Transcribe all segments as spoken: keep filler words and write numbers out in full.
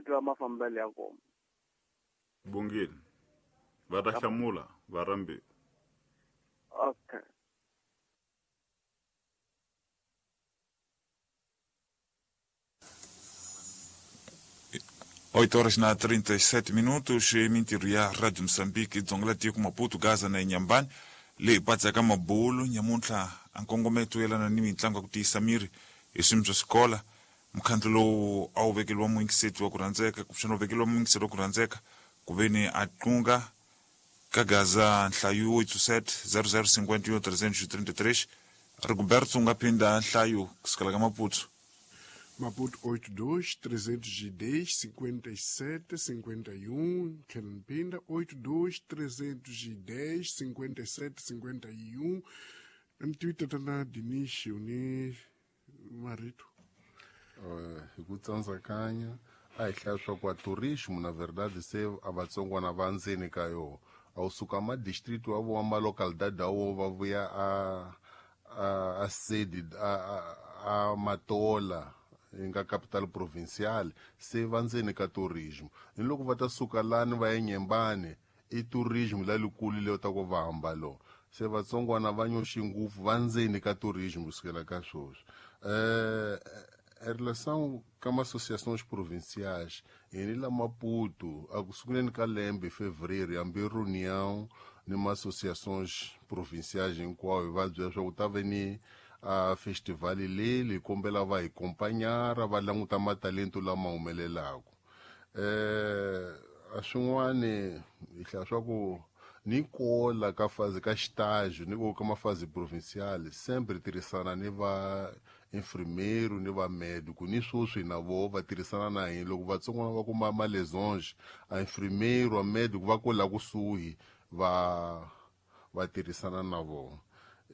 Tiva mafambelo ya kona. Bongile. Va ta hlamula va rambiwa. Okay. oito horas na trinta e sete minutos, mintirho ya Rádio Moçambique, dzonga tiko Maputo, Gaza na Inhambane, leyi patsaka mabulu nyamuntlha a nkongometo yelana ni mitlangu ya ku tiyisa miri hi swiyimo swa xikola. Mukhandlu lowu a wu vekeliwa muyingiseti wa ku rhandzeka, kumbexana wu vekeliwa muyingiseti wa ku rhandzeka ku veni a tlunga ka Gaza nhlayo oito sete zero zero cinquenta e um trezentos e trinta e três. Rigoberto u nga phinda nhlayo kusukela ka Maputo. Maputo oito dois, trezentos e dez, cinquenta e sete, cinquenta e um, Tlhela oito dois, trezentos e dez, cinquenta e sete, cinquenta e um. Twitter tana Diniz uni marito. Hi ku tsandzakanya a hi hlaya swa ku a tourismo na verdade se a vatsongwana va ndzeni ka yona a wu suka ma district wa vo ma localidade wo va vuya a a a sede a a Matola nga capital provincial se va ndzeni ka tourismo ni loko va ta suka lani va ya Nyembane i tourismo la likulu leyo ta ku va hamba lo se vatsongwana va nyoxi ngopfu va ndzeni ka tourismo kusukela ka sweswi. Eh em relação com as associações provinciais, em la Maputo, a sunguleni ka lembe fevereiro, hambi reunião ni ma associações provinciais hinkwayo va byela swa ku ta ve ni a festival leyi kombela va hi acompanhar va languta matalento lama humelelaka. Eh a swin'wani hi hlaya swa ku ni kola ka fazi ka estágio ni ka mafazi provincial sempre tirhisana ni va enfermeiro ni va médico ni sweswi na vo va tirhisana na hina loko vatsongwana va kuma ma lesões a enfermeiro a médico va kola kusuhi va va tirhisana na vona.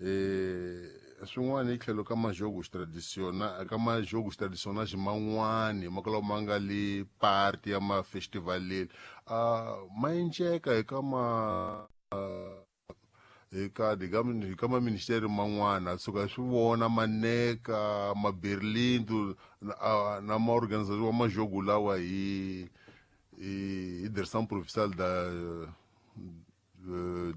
Eh swin'wana hi tlhelo ka majogos tradicionais ka majogos tradicionais man'wani ma kala ma nga le party ya ma festival leli a ma enceka eka ma eka digamos eka ma ministério man'wana suka swi vona maneka ma Berlin na ma organização wa majogo lawa hi hi direção provincial da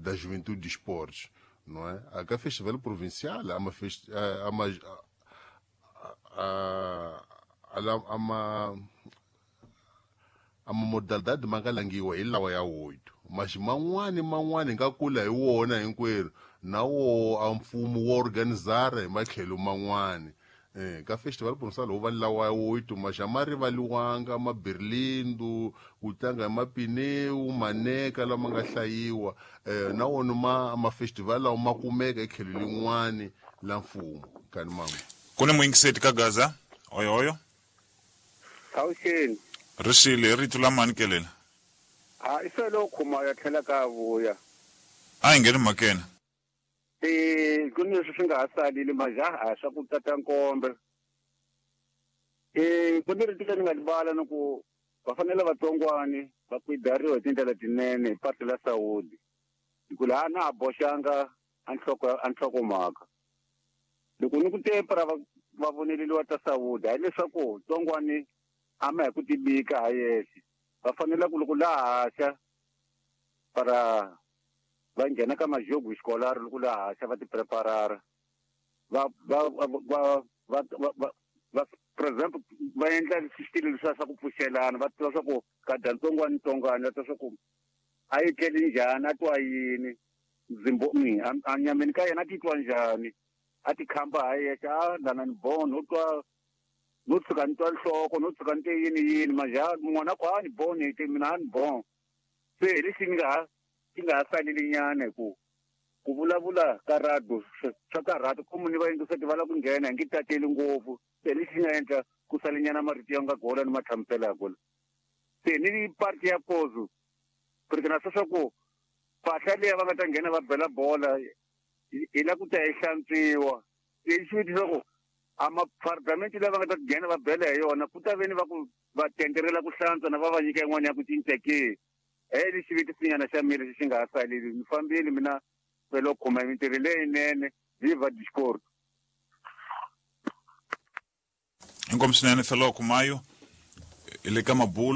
da juventude de esportes, não é? A festival provincial, há uma fest, há uma há há uma há uma modalidade mangalangiwa hi lawa ya oito, mas man'wani man'wani nga kula hi wona hinkwerhu na wo a mfumo wo organizar hi matlhelo man'wani. Eh ka festival provincial ho va lawa ya oito, mas a ma rivaliwanga ma Berlindo ku tlanga hi mapineu maneka lama nga hlayiwa eh na wona ma ma festival lawa ma kumeka etlhelo lin'wani la mfumo kani mama. Ku ni muyingiseti ka Gaza oyo oyo Awuxeni rixile rito la mani kelela a i felo khuma ya tlhela ka vuya a hi ngheni mhakeni. Eh ku ni leswi swi nga ha salile majaha swa ku tata nkombe. Eh ku ni rito leri nga libala ni ku va fanele vatsongwani va kuidariwa hi tindlela tinene hi patu la Saudi hi ku laha na ha boxanga a nhloko a nhlokomhaka loko ni ku tempera va va voneleliwa ta Saudi hayi leswaku tsongwani a ma hi ku tibika ha yexe va fanele ku loko laha haxa para va nghena ka majogo escolar loko laha haxa va ti preparara va va va va va va for example va endla xitilo leswiya swa ku pfuxelana va tiva swa ku ka dya ntsongwana ntsongwana va tiva swa ku a yi tleli njhani a twa yini ndzimbo a nyameni ka yena a titwa njhani a ti khamba ha yexe a lana ni bon no twa no tshuka ni twa nhloko no tshuka ni te yini yini maja n'wana ku a ni bon te mina a ni bon se hi lexi ni nga ha ti nga ha saleli nyana hi ku ku vulavula ka radio swa karhata ku ni va yingiseti va lava ku nghena hi nge tateli ngopfu se lexi nga endla ku salenyana marito ya nga gola ni ma hlamuselaka se ni party ya pozo porque na swa ku mpahla leyi va nga ta nghena va bela bola hi la ku ta yi hlantswiwa se xi vutisa ku a maparliament lava nga ta nghena va bela hi yona ku ta veni va ku va tenderela ku hlantswa na va va nyika yin'wana ya ku cinca ke e lexi vitisinyana xa mina lexi xi nga ha saleli ni fambile mina felo khoma mintirho leyinene viva discord. Inkomu swinene felo khumayo le ka mabulo.